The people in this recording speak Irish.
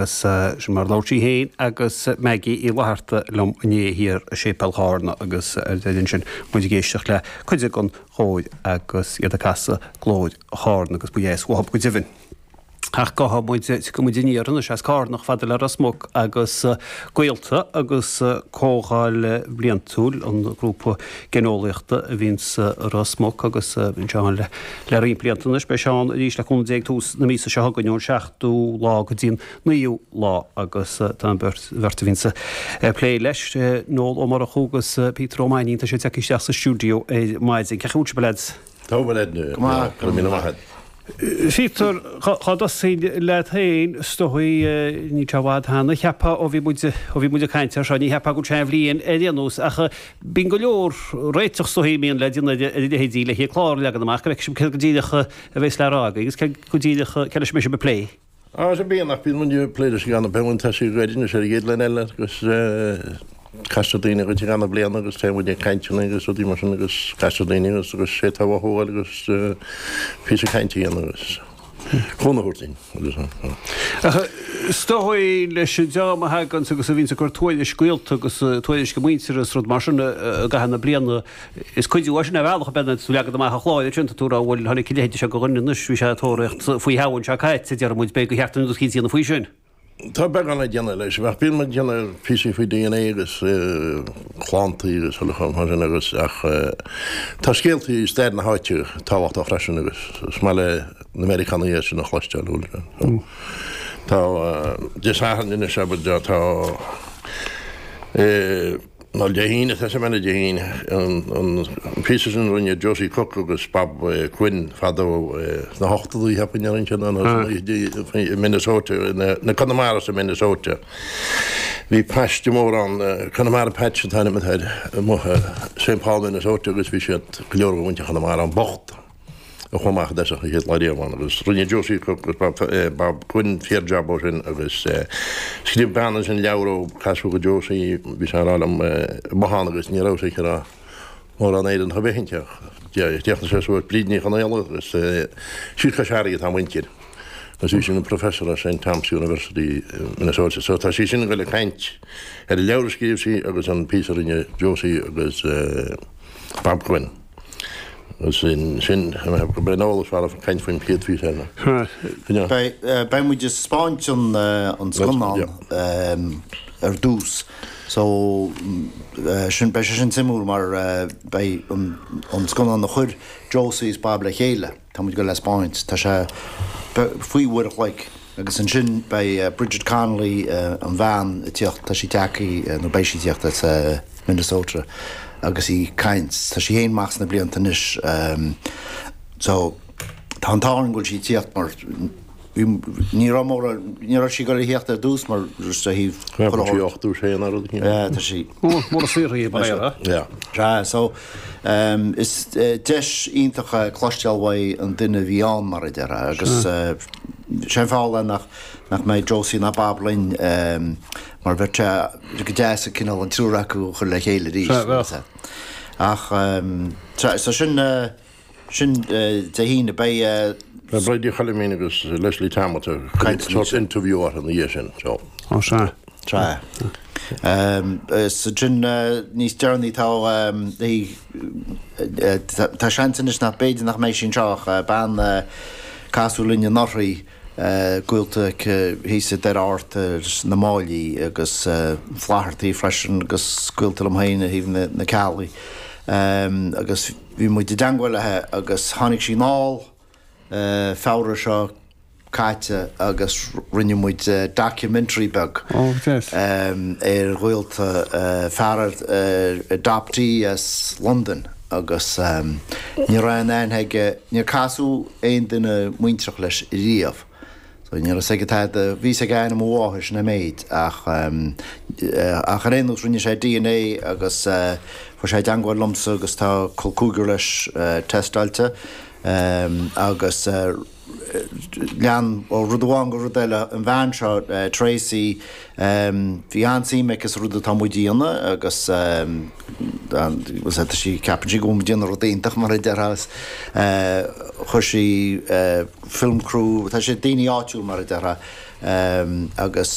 Sin mar a labhair sí féin agus Maggie Uí Fhlatharta liom inné thiar i Séipéal Chárna agus ar deireadh ansin muid ag éisteacht le cuid den chór agus iad ag casadh Glór Chárna agus ba dheas uathu go deimhin. Ach gabhfaidh muid, tiocfaidh muid aniar anois as Cárna chomh fada le Ros Muc agus Gaolta agus Comhdháil Bhliantúil an Ghrúpa Géineolaíochta a bhíonn sa Ros Muc agus bíonn sé ann le roinnt blianta anois. Beidh sé ann arís le cúnamh Dé ag tús na míosa seo chugainn ón seachtú lá go dtí an naoú lá agus tá an bheirt a bhíonns ag plé leis, Noel Ó Murchú agus Peter Ó Mainnín, tá siad tagtha isteach sa stiúideo ar maidin. Cén chaoi a bhfuil sibh, a leaids? Tá a leaid. Go maith. Go raibh míle maith agat. Peter, dhá dtosóinn leat féin, is dóigh, níl sé i bhfad cheana, cheapfá, ó bhí muid, ó bhí muid ag caint air seo, ní cheapfá go bhfuil sé aon bhliain ar aon nós, ach bíonn go leor réiteach is dóigh a mbíonn le déanamh ar a leithéidí le haghaidh clár a leagan amach, go bhfeicfidh sibh céard go díreach a bheas le rá agaibh agus céard go díreach, cé leis a mbeidh sibh ag plé. Á, sea, bíonn, ach bíonn muid ag plé leis i gceann, beidh muid ag tosaí go gairid anois ar an gcéad line eile agus castar daoine dhuit i gceann na bliana agus téann muid ag cainteanna agus rudaí mar sin agus castar daoine agus agus sé tá uathu a fháil agus píosa cainte a dhéanamh agus cúnamh a thabhairt dúinn agus Ach is dóigh leis an dream a thaganns agus a bhíonns ag cur tuairisc gaolta agus tuairisc a muintire is rud mar sin i gcaitheamh na bliana, Is cuidiú é sin ar bhealach, ab ea, tú ag leagan amach an chláir ansin, tá tú ag rá, bhuel, tháinig a leithéid seo de dhuine anois, bhí sé ag tóraíocht faoi Shamhain seo caite, déarfaidh muid, b'fhéidir gur cheart dúinn rud eicínt a dhéanamh faoi sin. Tá beagán le déanamh leis, ach bíonn muid ag déanamh píosaí faoi DNA agus clann agus chuile chor mar sin agus ach tá scéaltaí i stair na háite tábhachtach freisin agus is maith le na Meiriceánaigh é sin a chloisteáil, bhuel, tá Dé Sathairn anois, abair, tá. Nó Dé hAoine, tá sé mena Dé hAoine, an píosa sin a rinne Josie Cooke agus Bob Quinn fadó sna hochtóidí, cheapfainn, a rinne siad nó sna naochaidí i Minnesota, na Conamaras i Minnesota. Bhí paiste mór ann, Connemara Patch an t-ainm atá air, amuigh i St. Paul, Minnesota agus bhí siad go leor de mhuintir Chonamara ann bocht. a chuaigh amach i dtosach an chéad lá riamh ann agus rinne Josie Cooke agus Bob Quinn fíor-jab ó sin agus scríobh bean ansin leabhar ó casadh do Josie, bhí sé ag rá liom amuigh ann agus ní raibh sé ag rá mórán Éireannach ar bith inti ach chríochnaigh sé suas Bríd Ní Chonaola agus síos Cois Fharraige atá a muintir agus bhí sí ina professor ar St Thomas University Minnesota so tá sí sin ag dul ag caint ar an leabhar a scríobh sí agus an píosa a rinne Josie agus Bob Quinn. Sin, sin, go mbeidh an eolas fearr ag caint faoin chéad phíosa eile. Beidh, beidh muid ag spáint an, an scannán ar dtús. So, sin, beidh sé sin suimiúil mar beidh an, an scannán a chuir Josie is Bob le chéile, tá muid ag dul le spáint. Tá sé faoi uair a chloig. Agus ansin beidh Bridget Connolly, an bhean, ag tíocht, tá sí tagtha, nó beidh sí ag tíocht as Minnesota agus í ag caint. Tá sí féin amach sna blianta anois so tá an t-ádh orainn go bhfuil sí ag tíocht mar ní raibh mórán, ní raibh sí ag dul a thíocht ar dtús mar just ó thaobh Tá sí 86 nó rud éigin. Yeah, tá sí. Mór an saothar í, mar é. Yeah. Sea, so is deis iontach é cloisteáil uaidh an duine a bhí ann mar a déarfá agus Sé an fáth le nach nach mbeidh Josie ná Bob linn mar bheadh sé go deas an cineál an triúr acu a chur le chéile arís. Sea, bheadh. Ach so sin sin Dé hAoine. Beidh. Beidh Bridie Choilimín agus Leslie Thomas ag cur sort interview orthu ina dhiaidh sin so. Ó sea. Sea. Ansin níos deireanaí tá tá seans anois nach b'fhéidir nach mbeidh sí anseo ach bean a casadh linn anuraidh, gaolta aici thíos i Doire Fhatharta leis na Máillí agus Flathartaí freisin agus gaolta liom féin ó thaobh na Ceallaigh agus bhí muid i dteangmháil léi agus tháinig sí anall Feabhra seo caite agus rinne muid documentary beag ar ghaolta, fear adoptee as Londain agus ní raibh aon aithne aige, níor casadh aon duine muintreach leis riamh. So ní raibh 'fhios aige tada, bhí 'fhios aige ainm a mháthar, sin an méid ach ach ar aon nós rinne sé DNA agus chuir sé i dteangmháil liomsa agus tá col cúigear leis teisteáilte agus lean ó rud amháin go rud eile, an bhean seo, Tracy, bhí an-suim aici sa rud atá muid a dhéanamh agus tá sí, ceapann sí go bhfuil muid ag déanamh rud iontach mar a déarfá agus chuir sí film crew, tá siad daoine áitiúil mar a déarfá. Agus.